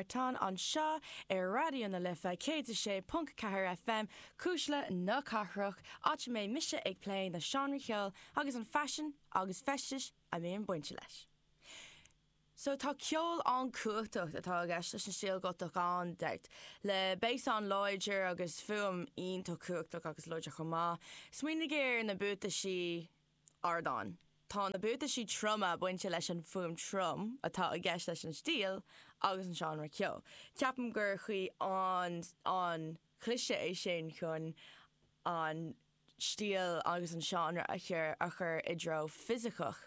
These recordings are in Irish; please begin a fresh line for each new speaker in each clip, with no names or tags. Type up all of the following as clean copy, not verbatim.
Beartán anseo ar Raidió na Life 106.4 FM, Cuisle na Cathrach, áit a mbeidh mise ag plé na seánraí ceoil agus an faisean agus feistis a mbíonn bainte leis. So tá ceol an-chumhachtach atá i gceist leis an stíl Gotach gan dabht, le bass an-láidir agus fuaim iontach cumhachtach agus láidir chomh maith. Smaoinigh ar na buataisí ardáin. Tá na buataisí troma bainte leis an fuaim trom atá i gceist leis an stíl agus an seánra ceoil. Ceapaim gur chaoi an-chliste é sin chun an stíl agus an seánra a chur i dtreo fisiceach.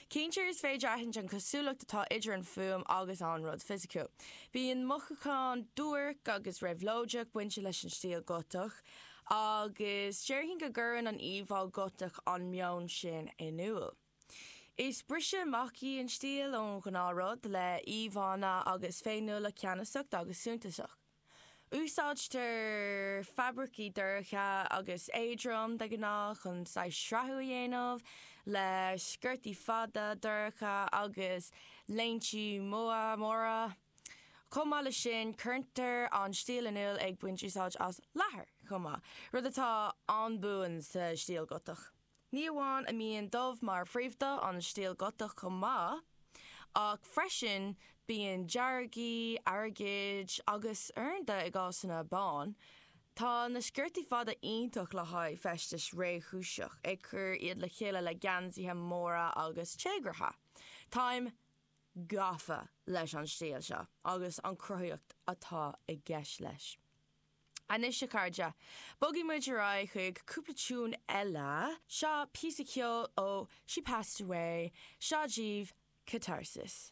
Cinnte is féidir aithint an cosúlacht atá idir an fuaim agus an rud fisiciúil. Bíonn mothúchán duairc agus réabhlóideach bainte leis an stíl Gotach agus déarfainn go gcuireann an íomhá Gotach an meon sin in iúl. Is briseadh amach í an stíl ón ghnáthrud, le íomhánna agus féiniúlacht ceannasach agus suntasach. Úsáidtear fabraicí dorcha agus éadrom de ghnáth chun saghas srathú a dhéanamh, le sciortaí fada dorcha agus léintí móra. Chomh maith leis sin, cuirtear an stíl in iúl ag baint úsáid as leathar chomh maith, rud atá an-buan sa stíl Gotach. Ní amháin a mbíonn dubh mar phríomhdhath an stíl Gotach chomh maith, ach freisin bíonn deargaí, airgid agus uaireanta i gcásanna bán. Tá na sciortaí fada iontach le haghaidh feistis réchúiseach, ag cur iad le chéile le geansaithe móra agus téagartha. Táim gafa leis an stíl seo agus an chruthaíocht atá i gceist leis. Anois a chairde, bogfaidh muid ar aghaidh chuig cúpla tiún eile. Seo píosa ceoil ó She Past Away, seo daoibh Catharsis.